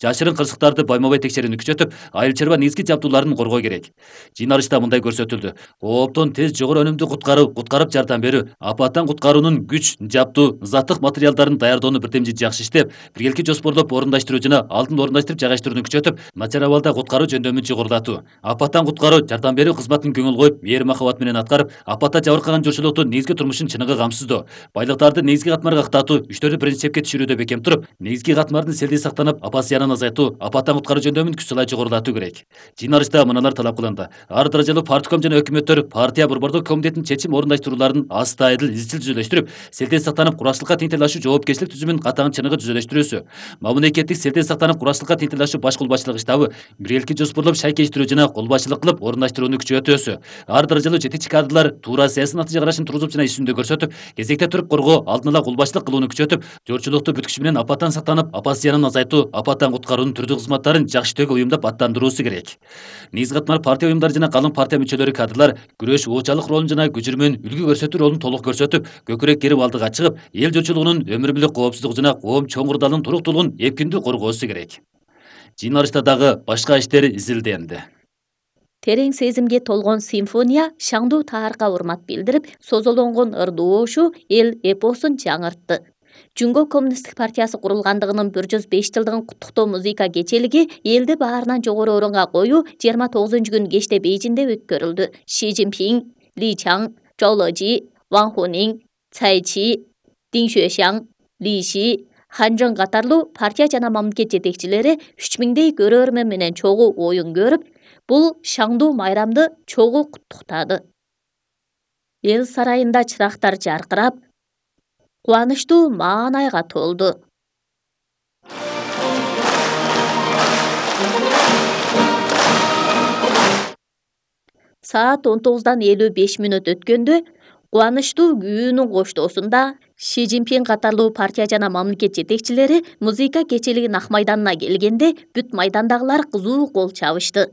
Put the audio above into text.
жашырын кырсыктарды байма-бай текшерүүнү күчөтүп, айыл чарба негизги жабдууларын коргоо керек. Жыйналышта мындай көрсөтүлдү. Кооптон тез жогору өнүмдүү куткарып жардам берүү, апаттан куткаруунун күч, жабдуу, заттык материалдарын даярдоону бирдемчи жакшы иштеп, биргелки жоспордоп орундаштыруу жана алдын орундаштырып жайгаштырууну күчөтүп, начар абалда куткаруу жөндөмүн жогорулатуу, апаттан куткаруу жардам берүү кызматын көңүл коюп, мээр-махабат менен аткарып, апатта жабыркаган журтчулуктун негизги турмушун чыныгы камсыздоо, байлыктарды негизги катмарга актаатуу, күчтөрдү биринчи чепке түшүрүүдө бекем туруп, негизги катмардын селди сактанып, апат зыянын азайтуу, апаттан куткаруу жөндөмүн күч салай жогорулатуу керек. Жыйналышта мыналар талап кылынды. Ар даражалуу партком жана өкмөттөр партия борбордук комитетинин чечим орундаштырууларын астайдыл, изчил түзүлөштүрүп, селтен сактанып, курачтыкка тең тилдашуу жоопкерчилик түзүмүн катаң чыныгы түзүлөштүрүүсү, мамлекеттик селтен сактанып, курачтыкка тең тилдашуу баш колбасчылык штабы биргеликти жоспорлоп шайкештирүү жана колбасчылык кылып орундаштырууну күчөтүүсү, ар даражалуу жетекчи кадрлар туура саясий натыйжа карашын тургузуп жана иш жүзүндө көрсөтүп, кезекте туруп коргоо, алдын ала колбасчылык кылууну күчөтүп, журтчулукту бүткүчү менен апаттан сактанып, апат зыянын азайтуу, апаттан куткаруунун түрдүү кызматтарын жакшы түгө уюмдап аттандыруусу керек. Негизги катмар партия уюмдары жана калың партия мүчөлөрү кадрлар күрөш оочалык ролун жана күжүрмөн үлгү көрсөтүү ролун толук көрсөтүп, көкүрөк керип алдыга чыгып, эл журтчулугунун өмүр мүлүк коопсуздугу жана коом чоң курдалынын туруктуулугун эпкиндүү коргоосу керек. Жыйналышта дагы башка иштер изилденди. Терең сезимге толгон симфония шаңдуу таарга урмат билдирип, созолонгон ырдуу ошу эл эпосун жаңыртты. Жумго коммунисттик партиясы курулгандыгынын 105 жылдыгын куттуктоо музыка кечелиги элди баарынан жогору орунга коюу 29-күнү кечте Бейжиңде өткөрүлдү. Ши Цзиньпин, Ли Чаң, Чжоу Лежи, Ван Хунин, Цай Чи, Дин Xueshang, Ли Ши, Хан Чжэн катарлуу партия жана мамлекет жетекчилери 3000дей көрөрмөн менен чогуу оюн көрүп, бул шаңдуу майрамды чогуу куттуктады. Эл сарайында чырактар жаркырап, кубанычтуу маанайга толду. Саат 19:55 өткөндө кубанычтуу күүнүн коштоосунда Ши Цзиньпин катарлуу партия жана мамлекет жетекчилери музыка кечелигинин ак майданына келгенде бүт майдандагылар кызуу кол чабышты.